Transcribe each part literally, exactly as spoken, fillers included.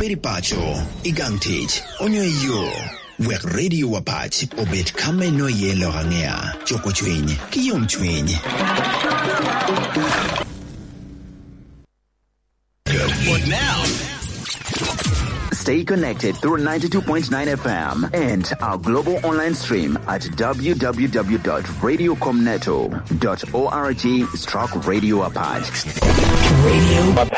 Iri paco, i gang tic, onyo i yo, wek Radio Apac obed ka me no iye lok aŋea, cuko cwiny, ki yom cwiny. Stay connected through ninety-two point nine F M and our global online stream at W W W dot radio com neto dot org stroke radio apac.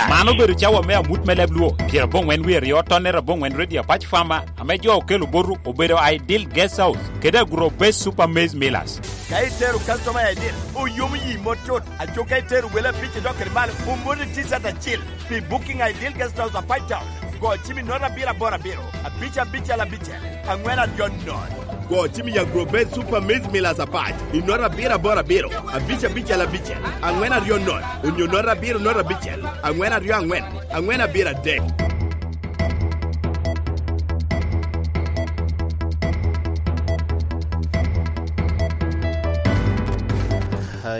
Man obedo cawa me amut me leb Luo, pyerabongwen wie aryo, tonnere abongwen Radio Apac Farmer, ame jo okelo boto obedo Ideal Guest House kede Agro Base Super Maize Millers. Ka itero customer Ideal, oyomo yi mot tut. Aco ka itero wele abic i dok kede malo, omoni T-shirt acil. Pi booking Ideal Guest House Apac Town, go cim i note abiro aboro abiro, abic abicel abicel, aŋwen aryo nono. Go cim i Agro Base Super Maize Millers Apac i note abiro aboro abiro, abic abicel abicel, aŋwen aryo nono, onyo note abiro note abicel, aŋwen aryo aŋwen, aŋwen abiro adek.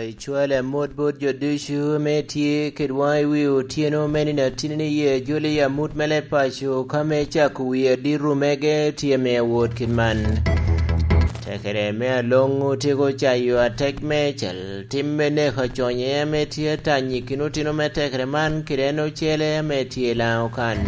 Icwalo amot bot jo ducu ame tye kedwa i wi otyeno me nino atinni, ye jolo i amut me leb paco, ka me cako wi adito mege tye me awot kit man. Tekere me aloŋo otyeko cayo atek meicel, tim me neko aconye ame tye atany i kin otino me tekere man kede en ocele ame tye i Laŋo kan.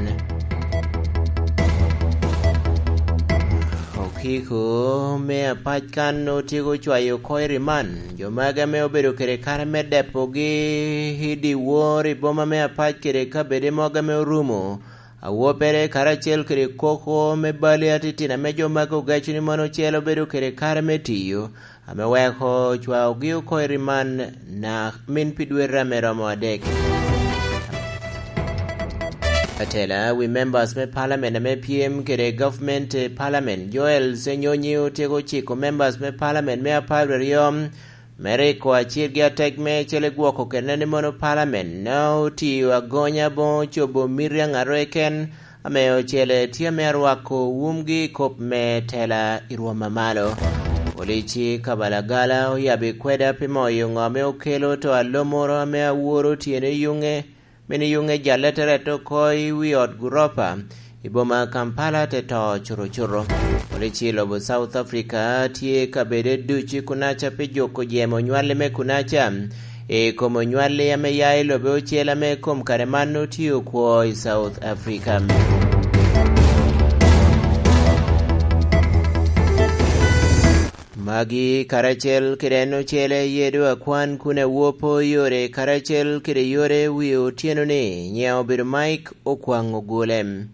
Okiko me Apac kan otyeko cwayo oko i riman. Jo magi ame obedo kede kare me depogi i dyewor i boma me Apac kede kabede mogo ame orumo, awobe karacel kede koko me bali atitino ame jo magi ogeco ni mono ocele obedo kede kare me tiyo, ame weko cwaogi oko i riman na min pi dwete ame romo adek. Atela wi members me parliament ame pyem kede government, eh, parliament, Joel Senyonyi otyeko ciko members me parliament me apar aryo me riko acirgi atek me cele gwoko kede ni mono parliament na otiyo agonya boŋo cobo miti aŋarwe ken, ame ocele tye ame arwako wumgi i kop me tela i rwom a malo. Polici Kabalagala oyabbi kweda pi moyo ŋo ame okelo to alomoro ame aworo tyene yuŋe, meno yuŋe jalle te rette oko i wi ot guropa i boma Kampala te to curucuru. Polici i lobo South Africa tye kabede ducu i kunaca pi juko jemo nywalli me kunaca. I kom onywalli ame ya i lobe ocel ame kom kare man otye okwo i South Africa. Magi karacel kede en ocele ye do akwan kun awopo yore karacel kede yore wi otyeno ni nyiŋe obedo Mike Okwaŋ Ogule.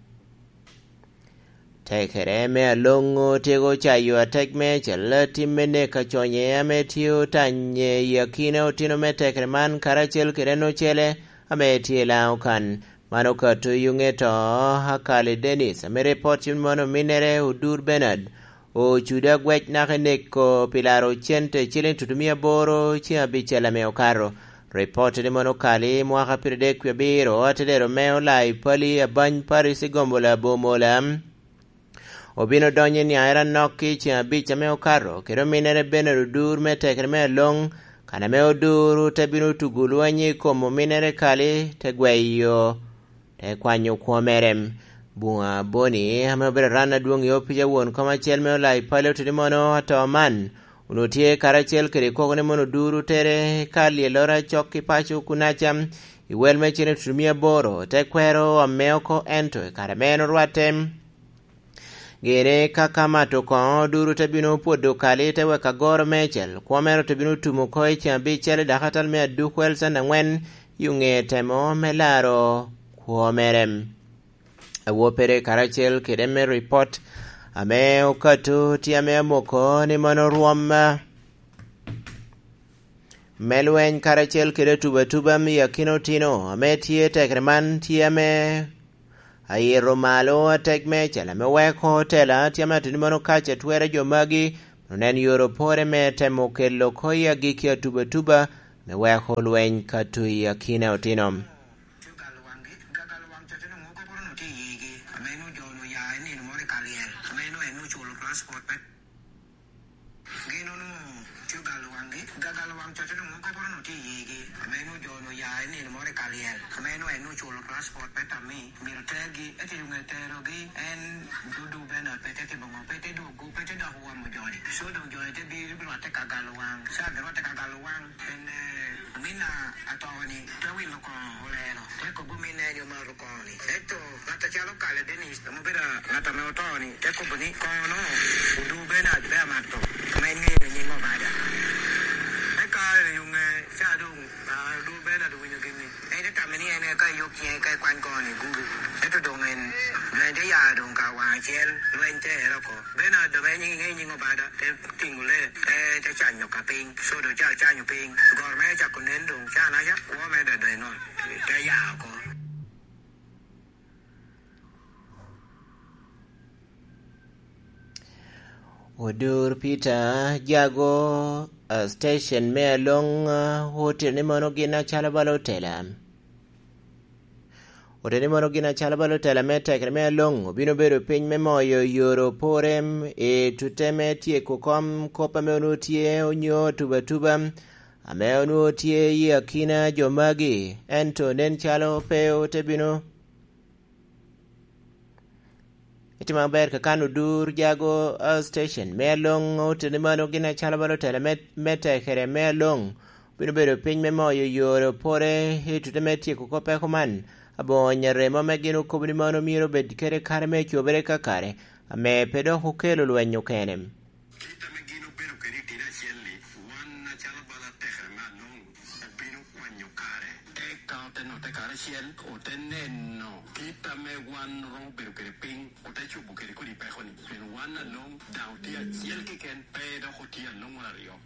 Tekere me aloŋo tyeko cayo atek me cel tim me neko aconye ame tye otanye i akina otino me tekere man karacel kede en ocele ame tye i Laŋo kan. Man okato i yuŋe to Akali Dennis, ame ripot cim mono ominnere Odur Bernard, ocudo agwec naka i neko pi laro cente ciliŋ tutumia aboro ceŋ abicel ame okato. Ripot ni mono Okali mwaka piradek wie abiro, atedero me Olai Pali Abany Paris i Gombola Bomola, obino donyo i niaŋere anok i ceŋ abic ame okato, kede ominnere Bernard Odur me tekere me aloŋ, kan ame Odur te bino tugo lweny i kom ominnere Kali, te gweyo, te kwanyo kwo mere. Buŋa Boni, ame obedo ran adwoŋ i opic a won kom acel me Olai Pali, oteni mono ato man, onwoŋo tye karacel kede koko ni mono Odur otere ka lyelloro acok i paco kunaca, i wel me cene tutumia aboro, te kwero ame oko, ento i kare me en orwatte, gire ka kamato koŋo duru te bino pwodo Kali, te weko agoro meicel. Kwo mere te bino tumo oko i ceŋ abicel i dakatal me Aduk Welson aŋwen, i oŋe temo me laro kwo mere. Awoppere karacel kede me ripot ame okato tye ame amoko ni mono rwom me lweny karacel kede atubatuba me akina otino ame tye tekere man tye ame ayito malo atek me cel ame weko tela tye ame ateni mono kac atwera jo magi, onen yore opore me temo kelo oko i agikki atubatuba me weko lweny ka tui akina otino. Gin onwoŋo tye ogalo waŋ Gagalo waŋ cotte doŋ okoporo no tye i yigi, ame nwoŋo jo onwoŋo ya i nino moro i Kalyel, ame nwoŋo en oculo transport me tammi, myero tergi, ento i nwoŋo eterogi, en dudu Bernard pe te timo ŋo, pe te dwogo, pe te dok owomo joni. So doŋ joni te bino, bino rwatte ka galo waŋ, ca bino rwatte ka galo waŋ, en, eh, ominna atoni te wilo koŋo olelo, te kobo ominna en omaro koŋo-ni. Ento ŋat acalo Kale Denis, ame obedo ŋat ame oto-ni, te kobo ni, "Koŋo-no, Odu Bernard pe amato, ame en ŋeyo nying Obada." Eka i ŋe ca doŋ, ah, Odu Bernard owinyo gin-ni, en te tamme ni en eka eyub ciŋe ka ekwany koŋo-ni i gudu. Ento doŋ en, doŋ en te ya doŋ ka waŋ acel, lweny te ero oko. Bernard doŋ en ŋeyo nying Obada, te tiŋo lee, te, te canyo ka piny. So doŋ ca ocanyo piny, goro mere ocako nen doŋ, ca naca, kwo mere doŋ edonyo i nol, te ya oko. Odur Peter Jago, ah, station me Along, ah, otito ni mono gin acalo bala otela. Otito ni mono gin acalo bala otela me tekere me Along obino bedo piny me moyo yore opore i tute me tyeko kom kop ame onwoŋo tye onyo tuba tuba, ame onwoŋo tye i akina jo magi, ento nen calo pe ote bino. Itimo maber, kakan Odur Jago, uh, station me Along oteni mano gin acalo bala otela me, me tekere me Along. Bino bedo piny me moyo yore opore i tute me tyeko kop peko man. Aboŋo nyaremo ame gin okobo ni mano myero obed kede kare me cobere ka kare, ame pe dok okelo lweny okene. Kit ame gin obedo kede i tino acel-li, wan acalo bala tekere me Along obino kwanyo kare, eka ote notte karacel, ote neno kit ame wan romo bedo kede piny, ote cobo kede kodi peko-ni. Pien wan Along daŋ otye acel keken, pe dok otye Along moro aryo.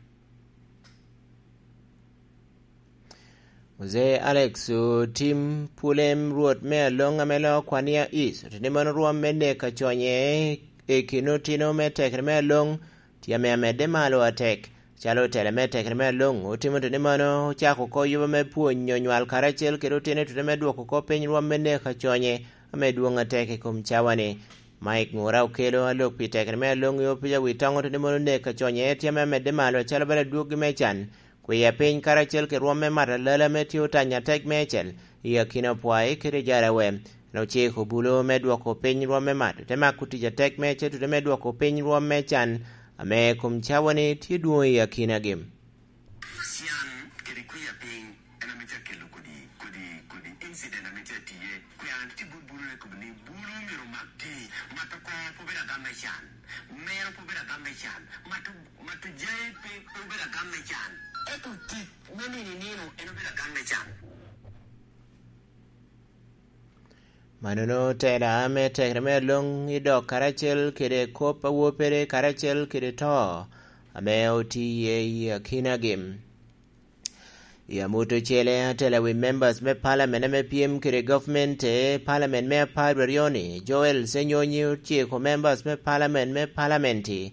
Muzee Alex Otim Pulem, Rwot me Along ame loo Kwania East, oteni mano rwom me nek aconye i kin otino me tekere me Along tye ame amedde malo atek. Calo otela me tekere me Along otimo oteni mano, ocako oko yuba me pwonyo nywal karacel kede otino i tute me dwoko oko piny rwom me nek aconye ame dwoŋ atek i kom cawa-ni. Mike Ngura Okelo, alok pi tekere me Along i opic Awitoŋo, oteni mano nek aconye tye ame amedde malo acalo bala dwoggi me can. Kwiya piny karacel kede rwom me mato alala ame tye otanyo atek meicel i akina Opwai kede Jarawe. En ociko bulo me dwoko piny rwom me mato, te mako tic atek meicel tute me dwoko piny rwom me can ame kom cawa-ni tye dwoŋ i akinagi. Can kede kwiya piny en ame te kelo kodi, kodi, kodi incident ame tye atye. Kwiya tye bot bulo, ne kobo ni bulo myero omak ti, mato kor pe obedo agam me can, mero pe obedo agam me can, mato, mato jai pe, pe obedo agam me can. Ento tic me nino i nino en obedo agam me can. Manono tela me tekere me Along i dok karacel kede kop awopere karacel kede to ame otiye i akinagi. I amut ocele, atela wi members me parliament ame pyem kede government i parliament me apar aryo-ni, Joel Senyonyi, ociko members me parliament me parliament-ti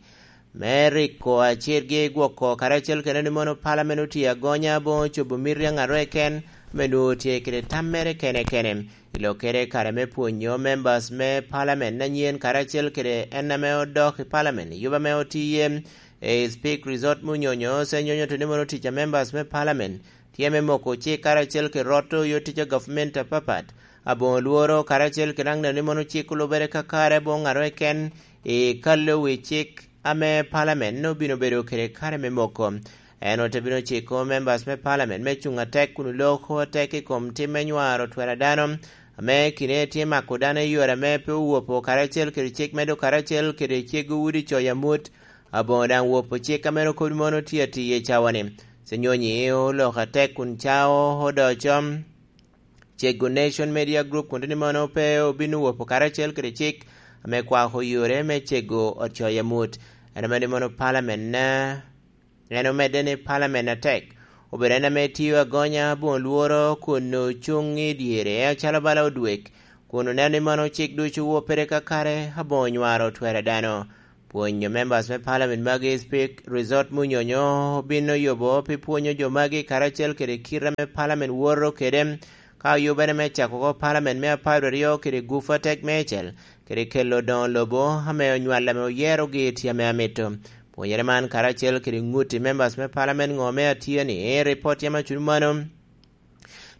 me riko acirgi gwoko karacel kede ni mono parliament otye agonya aboŋo cobo miti aŋarwe ken, ame nwoŋo tye kede tam mere kene kene. I lokkere kare me pwonyo members me parliament anyen karacel kede en ame odok i parliament i yuba ame otiye, e Speak Resort Munyonyo, Senyonyo oteni mono tic a members me parliament tye me moko cik karacel kede roto yo tic a government apapat. Aboŋo lworo karacel kede aŋ neno ni mono cik olubere kakare aboŋo ŋat keken i kalo wi cik ame parliament obino bedo kede kare me moko. En ote bino ciko members me parliament me cuŋ atek kun oloko atek i kom tim me nywaro twero a dano, ame kine tye mako dano i yore ame pe owopo karacel kede cik medo karacel kede cego udi coyo amut. Aboŋo daŋ wopo cik ame ru kodi mono tye atiye i cawa-ni. Senyonyi oloko atek kun cao odoco. Cego Nation Media Group kun teni mono pe obino wopo karacel kede cik ame kwako yore me cego ot coyo amut. En ame ni mono parliament na, en omedde ni parliament atek obedo en ame tiyo agonya aboŋo lworo kun ocuŋ i dyere acalo bala odwek, kun oneno ni mono cik ducu wopere kakare aboŋo nywaro twero dano. Pwonyo members me parliament magi, Speak Resort Munyonyo obino yubo pi pwonyo jo magi karacel kede kite ame parliament woto kede, ka oyubere me cako oko parliament me apar aryo kede gufu atek meicel, kede kelo doŋo lobo ame onywal ame oyerogi tye ame amito. Pwonyere man karacel kede ŋut i members me palamen ŋo me atye ni ripot yam acuno mano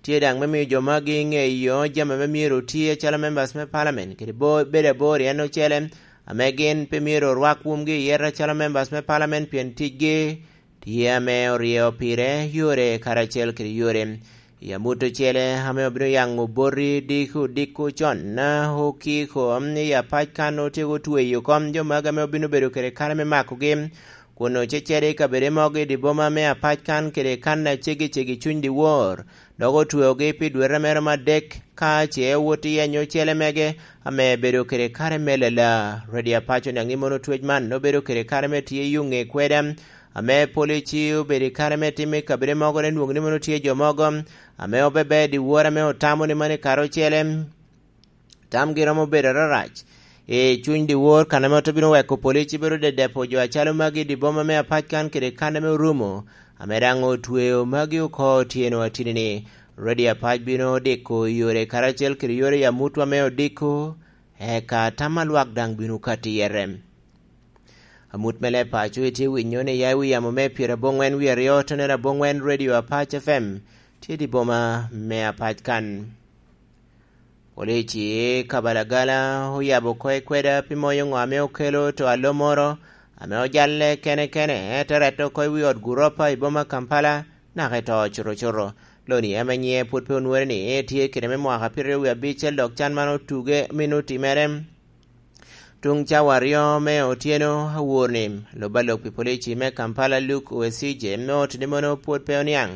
tye daŋ me miyo jo magi ŋeyo jami ame myero oti acalo members me palamen kede bo- bedo abor i en ocele, ame gin pe myero orwak wumgi i yet acalo members me palamen pien ticgi tye ame oryeyo pire yore karacel kede yore. I amut ocele ame obino yaŋo boti diko diko con, okiko i apac kan otyeko tweyo kom jo magi ame obino bedo kede kare me makogi kun ocecere i kabedo mogo i dye boma me apac kan kede kan aceggi ceggi cuny dyewor, dok otweogi pi dwete mere me adek ka ce owot i yenyo ocele mege ame bedo kede kare me lala. Redi apac oniaŋ ni mono twec man obedo kede kare me tye i ŋe kweda ame polici obedo i kare me timo i kabedo mogo, te nwoŋo ni mono tye jo mogo ame obebe dyewor ame otamo ni mano i kare ocele tamgi romo bedo ararac i cuny dyewor, kan ame ote bino weko polici bedo dedepo jo acalo magi i dye boma me apac kan kede kan ame orumo, ame daŋ otweo magi oko otyeno atini-ni. Redi apac bino diko yore karacel kede yore i amutwa me odiko, eka tam a lwak daŋ bino kati yere. Amut me leb paco itye winyo ni ya i wi yamo me pyeraboŋwen wie aryo tonere aboŋwen Radio Apac F M tye i dye boma me apac kan. Polici i Kabalagala oyabo oko i kweda pi moyo ŋo ame okelo to alo moro ame ojalle kene kene, te rette oko i wi ot guropa i boma Kampala, naka i to cuto cuto. Loni ame nyiŋe pwod pe onwore ni tye kede me mwaka pyeraryo wie abicel, dok can man otuge mino otimere tuŋ cawa aryo me otyeno awor-ni. Lub alok pi polici me Kampala Luke Wesije me oti ni mono pwod pe oniaŋ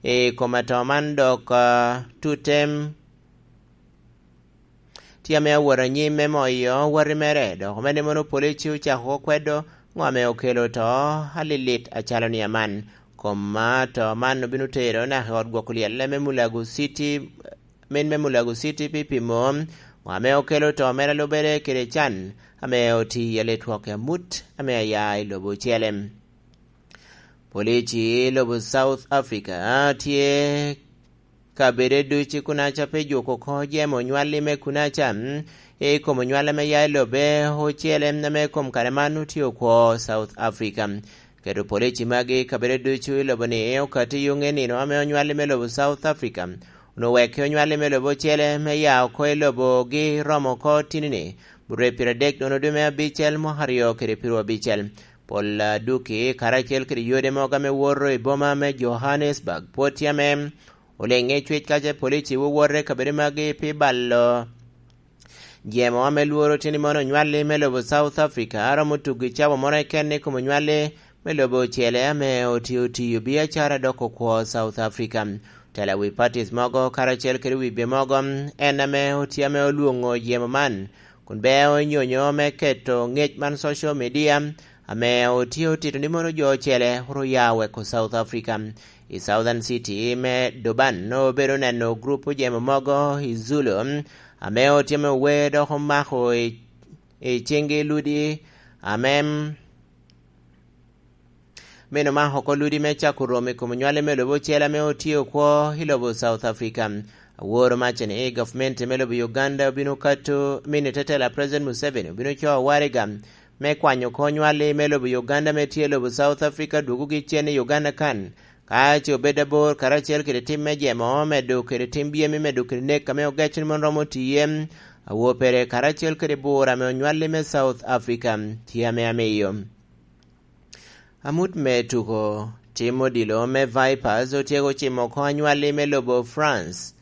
i kom ato man, dok ah, tutem tye ame awot anyim me moyo wati mere, dok omedde mono polici ocako kwedo ŋo ame okelo to alilit acalo ni aman. Kom ma to man obino tero naka i ot gwoko lyelle me Mulago City, min me Mulago City pi pimo ŋo ame okelo to mere lubere kede can ame oti i aletwok amut ame aya i lobo ocele. Polici i lobo South Africa tye kabede ducu kunaca pe juko oko jemo onywalli me kunaca, mm, i kom onywalla me ya i lobbe ocele ame kom kare man otye okwo South Africa. Keto polici magi kabede ducu i lobo ni okati yuŋ i nino ame onywalli me lobo South Africa onwoŋo wekke onywalli me lobo ocele me ya oko i lobogi romo oko tini-ni, burre pire dek dono dwe me abicel mwaka aryo kede piru abicel. Pol aduki karacel kede yode mogo ame woto i boma me Johannesburg pwod tye ame oleŋe cwec kaca polici wowote kabedo magi pi balo jemo ame lworo tye ni mono onywalli me lobo South Africa a romo tugo i cawa moro keken i kom onywalli me lobo ocele ame otio tiyo biacara dok okwo South Africa. Tela wi parties mogo karacel kede wi be mogo en ame otye ame olwoŋo jemo man kun beo nyonyo me keto ŋec man social media ame otye otito ni mono jo ocele oro ya weko South Africa. I Southern City me Durban obedo neno grup ojemo mogo i Zulu ame otye me wer dok omako i, i cingi ludi ame meno mako oko ludi me cako romo i kom onywale me lobo ocele ame otye okwo i lobo South Africa. Aworo mace ni gavumenti me lobo Uganda obino kato mini tetela President Museveni obino coo waraga me kwanyo oko onywalli me lobo Uganda me tye i lobo South Africa dwogogi cen i Uganda kan, ka ce obed abor karacel kede tim me jemo medo kede tim byemi medo kede nek ame ogeco ni mon romo tiye awor pere karacel kede bur ame onywalli me South Africa tye ame amiyo. Amut me tuko tim odilo me Vipers otyeko cimo oko anywalli me lobo France,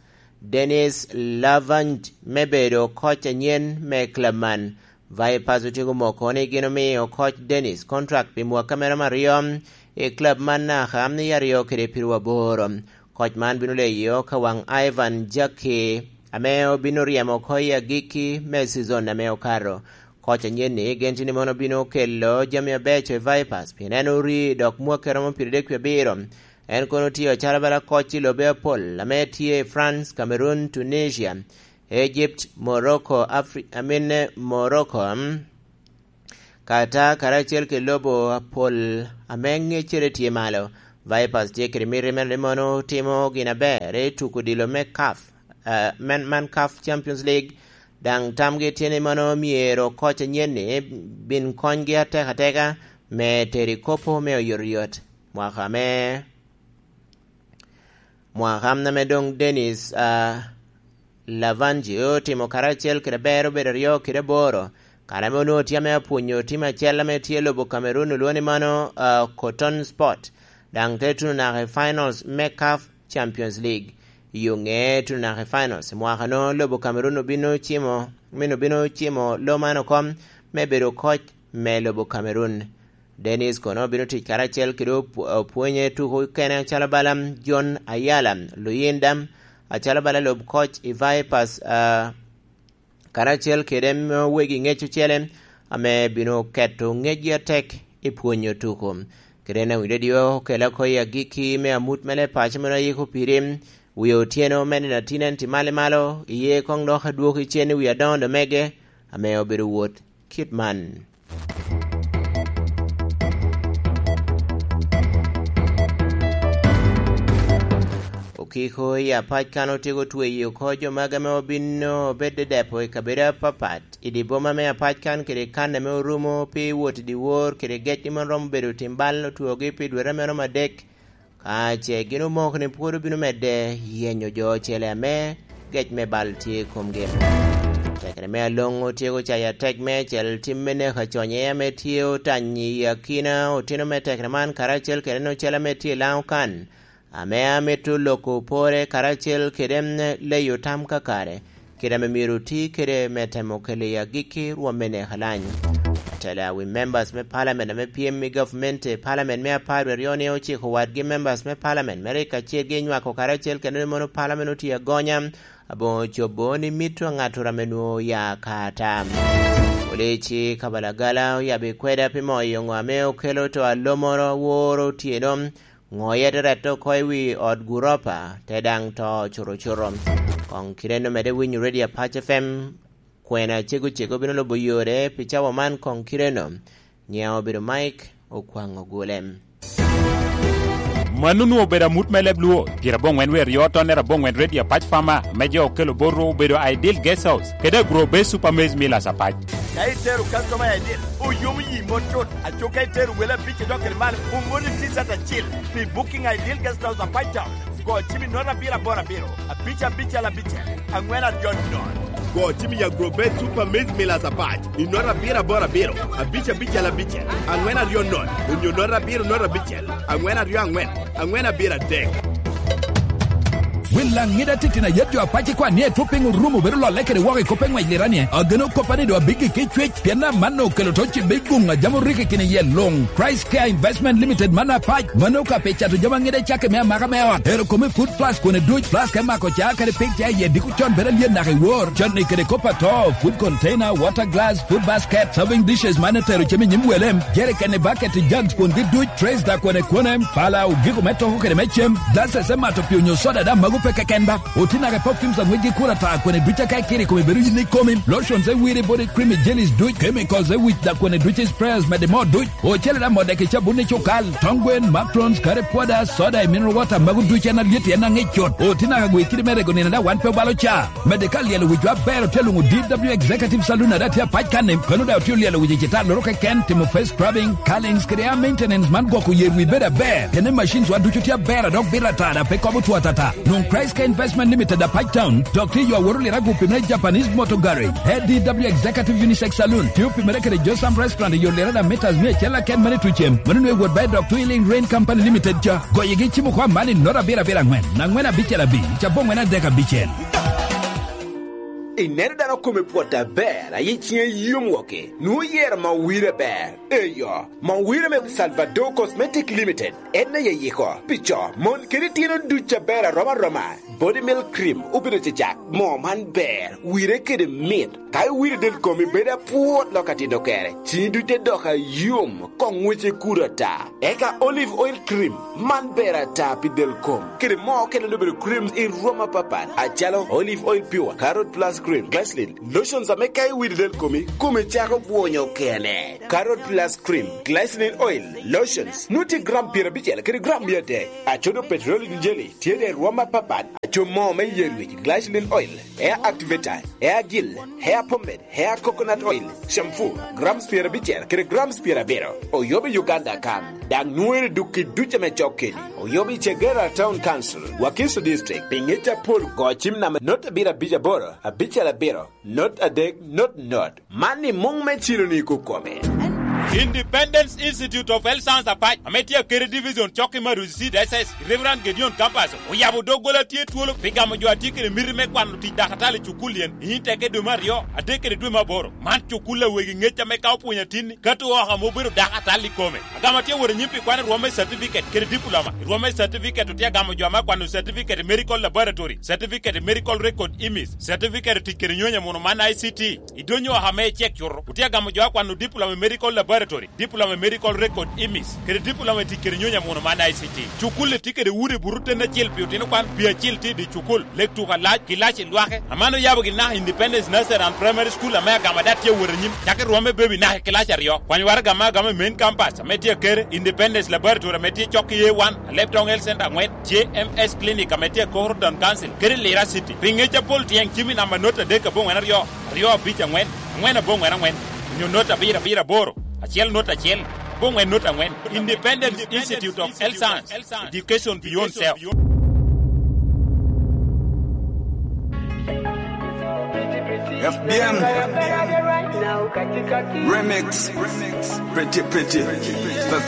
Denis Lavant, me bedo koc anyen me club man. Vipers otyeko moko ni gin omiyo koc Denis kontrak pi mwaka mere me aryo i club man naka i aryo kede piru aboro. Koc man bino leyo ka waŋ Ivan Jackie ame obino ryemo oko i agikki me season ame okato. Koc anyen ni genti ni mono bino kelo jami abeco i Vipers pien en ori dok mwaki romo piradek wie abiro. En kono tye acalo bala koc i lobe apol ame tye i France, Cameroon, Tunisia, Egypt, Morocco, Afri-, I mean, Morocco, mm, Qatar karacel ki lobo apol ame ŋeccere tye malo. Vipers tye kede miti mere ni mono timo gin aber i tuko odilo me CAF, eh, man, man CAF Champions League. Daŋ tamgi tye ni mono myero koc anyen ni bin konygi atek ateka me tero i kop me oyotoyot. Mwaka me, mwaka ame doŋ Dennis, ah, Lavangi otimo karacel kede ber obedo aryo kede aboro, kare ame onwoŋo tye ame apwonyo tim acel ame tye i lobo Cameroon, olwoŋo ni mano, ah, Cotton Sport, daŋ te tuno naka i finals me CAF Champions League. I yo ŋe tuno naka i finals, mwaka-nu lobo Cameroon obino cimo, min obino cimo lo man oko me bedo koc me lobo Cameroon. Dennis kono obino tic karacel kede opw-, opwonye tuko okene acalo bala John Ayala, Luyinda, acalo bala lub koc i Vipers, ah, karacel kede wegi ŋec ocele ame bino keto ŋecgi atek i pwonyo tuko. Kede en awinyo dyo okela oko i agikki me amut me leb paco meno ayiko piri, wie otyeno me nino atin en tye malo i malo, iye koŋ dok adwoki cen i wi adoŋo domege ame obedo wot kit man. Okiko i apac kan otyeko tweyo oko jo magi ame obino obed dedepo i kabedo apapat i dye boma me apac kan kede kan ame orumo pi wot i dyewor kede gecgi ma romo bedo tim bal otwogi pi dwete ame romo adek. Ka ce gin omoko ni pwod obino medde yenyo jo ocele ame gec me bal tye i komgi. Tekere me aloŋ otyeko cayo atek me acel tim me neko aconye ame tye otany i akina otino me tekere man karacel kede en ocele ame tye i Laŋo kan, ame amito loko pore karacel kede leyo tam kakare, kit ame myero oti kede me temo kelo i agikki rwom me neko alany. Atela wi members me parliament ame pyem i gavumenti, parliament me apar aryo ni ociko wadgi members me parliament me rik acirgi i nywako karacel kede ni mono parliament oti agonya, aboŋo cobo ni mito aŋatura ame nwoŋo oya ka ata. Polici Kabalagala oyabbi kweda pi moyo ŋo ame okelo to alomoro woro otyeno, ŋo yete rette oko i wi ot guropa, te daŋ to curucuru. Koŋ kite-nu medde winyo Radio Apac F M, kwena cego cego bino lubo yore pi cawa man koŋ kite-nu. Nyiŋa obedo Mike Okwaŋ Ogule. Mano onwoŋo obedo amut me leb Luo, pyerabongwen wer yo tonnere abongwen Radio Apac Farmer, me jo okelo botwu obedo Ideal Guest House, kede Agro Base Super Maize Millers Apac. Ka itero customer I D, oyomo yi mot cut. Aco ka itero wele abic i dok kede malo, omoni T-shirt acil pi booking Ideal Guest House Apac Town. Go cim i note abiro aboro abiro, abic abicel abicel, angwen aryo nono. Go cim i Agrobet Super Maize Millers Apac i note abiro aboro abiro, abic abicel abicel, angwen aryo nono, onyo note abiro note abicel, angwen aryo angwen, angwen abiro adek. Wil Laŋida titino ayet jo apac ikwan ni etwo piny orumo bedo lolle kede woko i kop eŋwec liranie. Ageno koppa ni doŋ abiggi ki cwec, pien amanno okelo to cibbe i guŋ a jam orikki kine iye luŋ. Price Care Investment Limited man apac, mano ka pi cato jami aŋida cakke me amaka me ot. Ero kome food plus kone duc, plus ka imako ca kadi pig ca iye diko con bedo alyet naka i wor. Canni kede kop ato, food container, water glass, food basket, serving dishes man etero cem i nyim welem, jerikeni, baketi, jugs, kwongi duc, trays da kwone kwone, pala, ogiko me toko kede me cem, glasses emato pi onyo soda da mago pe keken ba. Oti naka i perfumes aŋwec gi kura ta kwene duc aka ikiri kome bedo yin ikomi, lotions e wiri body cream i jellies duc, chemicals e wic da kwene duc i sprayers mede mo duc, ocele da modek i cabun i cukal, tong gwen, macarons, curry powder, soda i mineral water mago duc en alyet en aŋic cut. Oti naka gwe kidi me rego nino da wan pe obalo ca. Mede ka lyelo wicwa aber otye luŋo D W Executive Saloon ada tye apac kanni, kano da otye olyelo wic i citar loro keken, timo face scrubbing, curlings kede hair maintenance man gwoko yer wi bedo aber. Kene machines wa ducu tye aber a dok bito ata da pe kobo two atata. Nwoŋ Christ Care Investment Limited apac town, dok tye yo aworo lira gupi me Japanese Motor Garage. A D W Executive Unisex Saloon, tye opimere kede Josam Restaurant i yo lira da meters mia acel aken mane tucem. Mano nwe wot ba i dok Twilling Rain Company Limited ca. Goyegi cimo kwa mani nota abiro abiro angwen, angwen abicel abic, cabo angwen adek abicel. Ineno dano kome pwot aber, aye ciŋe yom woki, nwoŋo yero ma wire ber. Eyo, ma wire me Salvador Cosmetic Limited, en aye yiko, pi co, mon, kede tyeno duc aber aroma aroma. Body Milk Cream obedo cecak, moo man ber, wire kede mit. Ka iwiro del komi bedo apwot lok atino kere, ciŋi duc te dok ayom, koŋ ŋwece kuro ata. Eka Olive Oil Cream, man ber ata pi del kom. Kede moo okene obedo creams i rwom apapat, acalo Olive Oil Pure, Carrot Plus Cream, Glycerin, lotions ame ka iwiro del komi, kome cako bwonyo kene. Carrot Plus Cream, Glycerin Oil, lotions, nwoŋo tye gram pyerabicel kede gram mia adek. Acodo Petroleum Jelly, tye de i rwom apapat. Cumo me yer wic, glycerin oil, hair activator, hair gel, hair pomade, hair coconut oil, shampoo, grams pyerabicel kede grams pyerabiro. Oyobo i Uganda kan, daŋ nwoŋere duk i duc ame cok keni. Oyobo i Chegera Town Council, Wakiso District, pi ŋec apol go cim namba not abiro abic aboro, abicel abiro, not adek, not not. Man i muŋ me cilo ni kukome. Independence Institute of Health Science Apac, ame tye akede division cokki me Arusi Diocese, Reverend Gedeon Campus, oyabo doggola tye twolo pi gamo jo a tye kede miti me kwano tic dakatali i cukul yen, i teke dwe me aryo, adek kede dwe me aboro. Man cukul a wegi ŋec ame ka opwonyo atinni, kato oko ame obedo dakatali i kome. Agama tye wot anyim pi kwano rwom me certificate kede diploma. I rwom me certificate otye agamo jo ame akwano certificate i medical laboratory, certificate i medical record image, certificate i tic kede nyonyo muno man I C T. I donyo oko ame icek cuto, otye agamo jo akwano diploma i medical laboratory, diploma i medical record image, kede diploma i tic kede nyonyo muno man I C T. Cukul-li tye kede udi buto ten acel pi otino kwan, pi acel tye i dye cukul. Lek tuko alac, kilaci lwake. Aman oyabo gin naka Independence Nursery and Primary School ame agama dat tye awot anyim, cakki rwom me baby naka i kilaci aryo. Kwany waraga me agama i main campus ame tye akere, Independence Laboratory ame tye cok i A one, Alebtong Health Center angwen, J M S Clinic ame tye akoro Town Council, kede Lira City. Pi ŋec apol tyeŋ cim i namba not adek aboŋwen aryo, aryo abic angwen, angwen aboŋwen angwen, onyo not abiro abiro aboro, acel not acel, aboŋwen not angwen. Independence Institute of Health Science, Education Beyond Self. F B M Remix. Pretty, pretty.